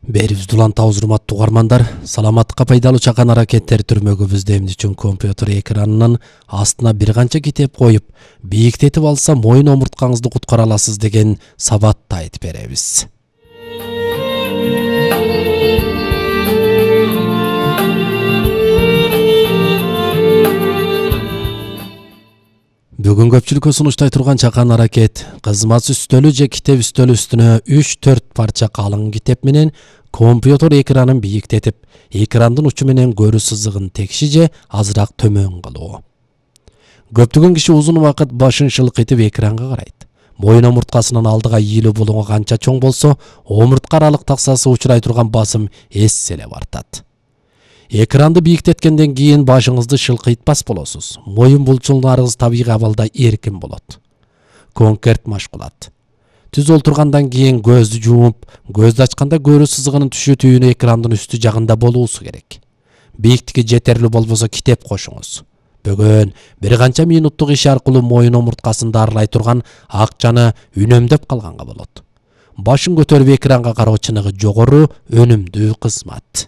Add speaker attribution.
Speaker 1: Берибизди улантабыз, урматтуу угармандар. Саламаттыкка пайдалуу чакан аракеттер түрмөгүбүздө эмне үчүн компьютер экранынын астына бир канча китеп коюп, бийиктетип алса моюн омурткаңызды куткара аласыз деген сабатты айтып беребиз. Бүгүн көпчүлүккө сунуштай турган чакан аракет кызмат үстөлү же китеп үстөлү үстүнө 3-4 парча калың китеп менен компьютер экранын бийиктетип, экрандын учу менен көрүү сызыгын текши же азыраак төмөн кылуу. Көптөгөн киши узун убакыт башын шылкыйтып экранга карайт. Моюн омурткасынын алдыга ийилүү булуңу канча чоң болсо, омуртка аралык таксасы учурай турган басым эссе эле бартат. Экранды бийиктеткенден кийин башыңызды шылкыйтпас болосуз. Моюн булчуңдарыңыз табигый абалда эркин болот. Конкерт машкулат. Түз олтургандан кийин көздү жумуп, көздү ачканда көрүү сызыгынын түшүү түйүнү экрандын үстү жагында болуусу керек. Бийиктиги жетерлүү болбосо китеп кошуңуз. Бөгөн бир канча минуттук иш аркылуу моюн омурткасын дарылай турган акчаны үнөмдөп калганга болот. Башын көтөрүп экранга кароо чыныгы жогору өнүмдүү кызмат.